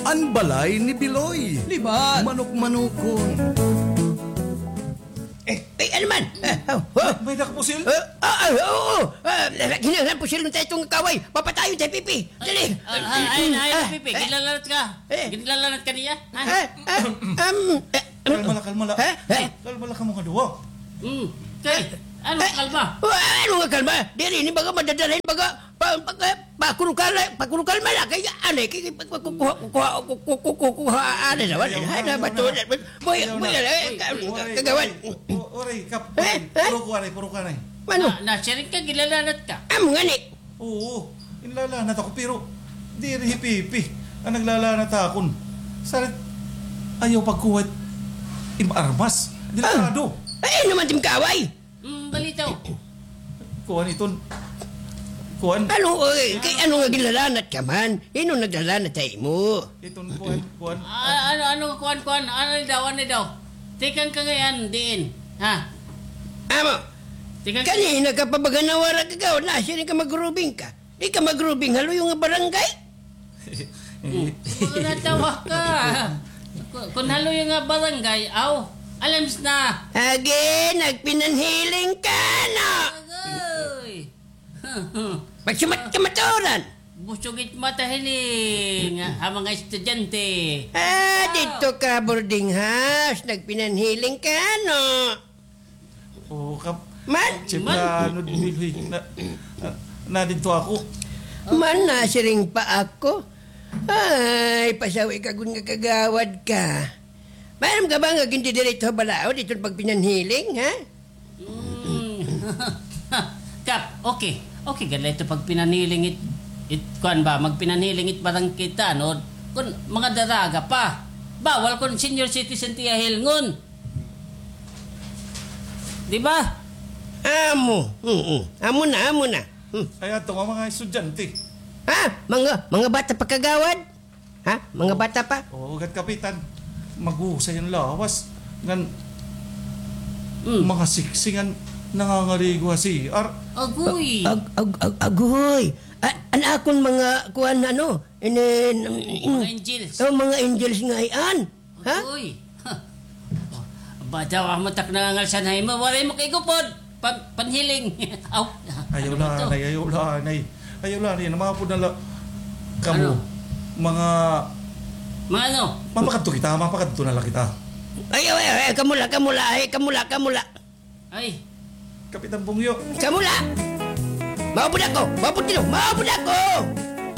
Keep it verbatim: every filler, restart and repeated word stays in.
An balay ni Biloy. Libat. Manok-manokon. Eh, eh, ano man? Eh, oh, oh. May nakapusil? Eh, ah, ah, oo, oo. Ah, kinahanglan pusilon ta iton nga kaaway. Papatayon ta hi Pipi. Dali. Ah, ah, ay, ay, ah, Pipi, eh. Ginlalanat ka. Eh. Ginlalanat ka niya? Ha? Eh, eh, um, eh, Kalma la, kalma la. Eh, eh. Kalma la kamo nga duha. Hmm. Kay, ano nga kalma? Wa, ano nga kalma? Diri ni baga madadala hin baga pa, pa, pa, pakurukala, pakurukalma la kay anay kay, kay, pa, kukuha, kukuha, kukuha, kukuha, anay naman. Ayaw na, ayaw na. Ayaw na. Boy, ayaw na. Boy, eh, ka-, kagawad. Uy, uy, uy, uy, kap-, eh, eh? Puro kuha na, puro kuha na. Ano? Na, nasiring ka, ginlalanat ka. Amo ngani. Oo, ginlalanat ako, pero diri hi Pipi an naglalanat ha akon. Sarit, ayaw pagkuha it im armas. Delikado. Ah, ay, ano man it im kaaway? Mm, balitaw. Kuan iton. Kuan. Ano, eh, kay ano nga ginlalanat ka man? Hin-o naglalanat ha imo? Iton kuan, kuan. Ah, ano, ano, kuan, kuan. Ano daw, ano daw? Tikang ka ngay-an, diin? Ha? Amo. Tikang ka. Kanina ka pa baga nawara, kagawad, nasiring ka magrubing ka. Di ka magrubing ha luyo nga barangay? Mga natawa ka. Ku-, kun ha luyo nga barangay, aw, alams na. Agi, nagpinanhiling ka, no? Agoy. Pagsumat ka maturan. Busog it mata hini nga, ha mga estudyante. Ah, didto ka boarding house, nagpinanhiling ka, no? Oo, kap-, man, Chief, man. Na, ano, Bilhoy, na, na, na didto ako. Man, nasiring pa ako. Ay, pasawi ka gud nga kagawad ka. Maaram ka ba nga gindidiretso ha balaod iton pagpinanhiling, ha? Mm. Kap, okay. Okay gad la ito pagpinanhiling it, it, kuan ba, magpinanhiling it barangay tanod. Kun mga daraga pa. Bawal kun senior citizen it iya hilngon. Di ba? Amo. Mm-mm. Amo na, amo na. Hmm. Ay, ato nga mga estudyante. Ha? Mga, mga bata pa, kagawad? Ha? Mga bata pa? Oo, gat kapitan. Maghusay an lawas. Ngan, mm, mga siksi ngan nangangaligo ha C R. Agoy! Ag-, ag-, ag-, agoy! A-, an akon mga kuan, ano, inin, mga angels. Oh, mga angels ngay-an. Ha? Uy. Bata, wa mo tak nangangalsan ha imo. Waray mo kay gupod. Pan-, panhiling. Aw. Ayaw la, anay, ayaw la, anay. Ayaw la, anay. Namapod na la. Kamo. Ano? Mga, mga ano? Mapakadto kita, mapakadto na la kita. Ay, ay, ay, ay, kamo la, kamo la, ay, kamo la, kamo la. Ay. Kapitan Bungyo. Kamo la! Maupod ako! Maupod kamo! Maupod ako!